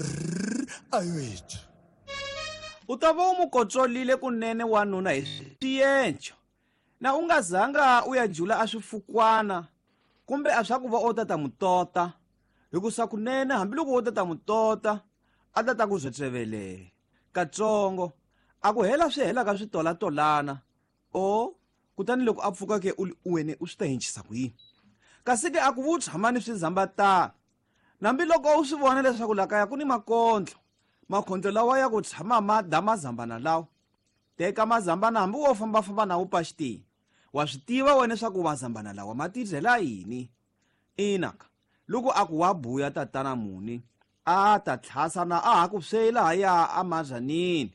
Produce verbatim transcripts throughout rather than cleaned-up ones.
R awethu. U ta va u mu kotsolile kunene wanuna hi swienco na u nga zanga u ya jula a swifukwana kumbe a swa ku va o tata mutota hikusa kunene hambiloko wo tata mutota a tata ku zwetsevele katsongo a ku hela swi helaka swi tolatolana o kutani loko a pfuka ke u wene u swi ta hinchisa ku yini kasi ke a ku vu tshamani swi zambatana nambiloko u swi vona leswaku la kaya ku ni makondlo makhondlo lawa ya ku tshama ma da mazambana lawa teka mazambana hambi wo fambafamba na wu paxitini wa swi tiva wena leswaku mazambana lawa ma tidyela yini inaka loko a ku wa buya tatana muni a ta tlhasa na a ha ku swela haya amazanini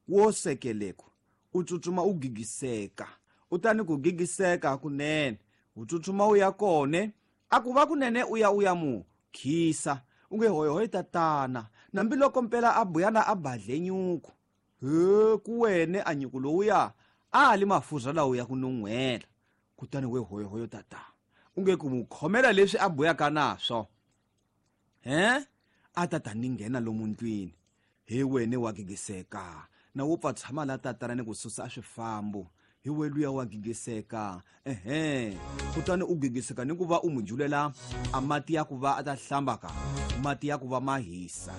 wo sekeleko u tsutsuma u gigiseka u tani ku gigiseka kunene u tsutsuma u ya kone a ku va kunene u ya u ya mu khisa u nge hoyihoyi tatana nambiloko mpela a buyana a badle nyuku he ku wene a nyuku lowuya a li mafurha lawo ya ku nun'hwela kutani we hoyihoyo tatana u nge ku mu khomela leswi a buyaka naswo he a tata ni nghena lomu ndlwini hi wene wa gigiseka na wo pfa tshama la tatana ni ku susa a swifambo hi we luya wa gigiseka ehe kutani u gigiseka ni ku va u mu julela a mati ya ku va a ta hlamba ka mati ya ku va ma hisa.